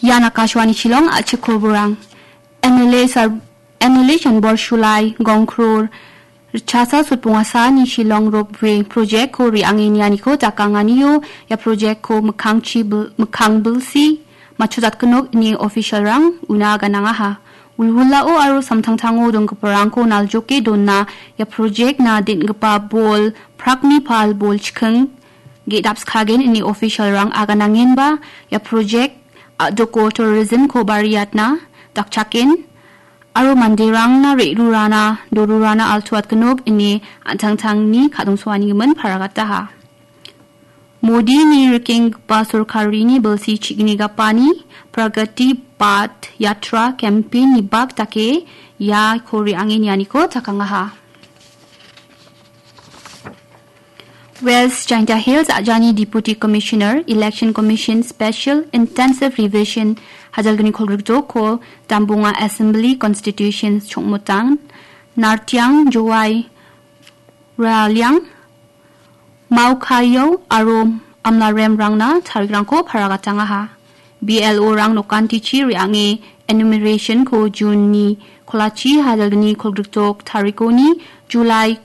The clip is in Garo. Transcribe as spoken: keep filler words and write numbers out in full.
Ian Akashvani Shillong, a·chik koborang. M L A sar-, M L A Chanbor Shulai, Gongkror, Richasa Sutpungasani Shillong Ropeway project-ko re·ange nianiko dakanganio ia project-ko mikkangchi bil-, mikkang bilsi matchotjatgenok ine official-rang una ganangaha. Wilwilao aro samtangtango donggiparangko naljoke dona ia project-na den·gipa bol, prakni pal bol chiking ge·dapskagen ine official-rang aganangenba ia project a·doko tourism-ko bariatna dakchaken aro manderangna re·rurana, dorurana altuatgenok ine an·tangtangni kadongsoanigimin paragataha. Modini rikenggipa sorkarini bilsi chigni gapani Pragati Path Yatra campaign-ni bak dake iako re·ange nianiko dakangaha. West Jaintia Hills a·jani Deputy Commissioner, Election Commission Special Intensive Revision hajalgni kolgrikjoko Dambunga Assembly Constitution Chongmutang, Nartiang, Jowai, Raliang, Maukayao aro Amlaremrangna tarikrangko paragatangaha. B L O-rang nokantichi re·ange enumeration-ko June-ni kolachi hajalgni kolgrikjok tarikoni July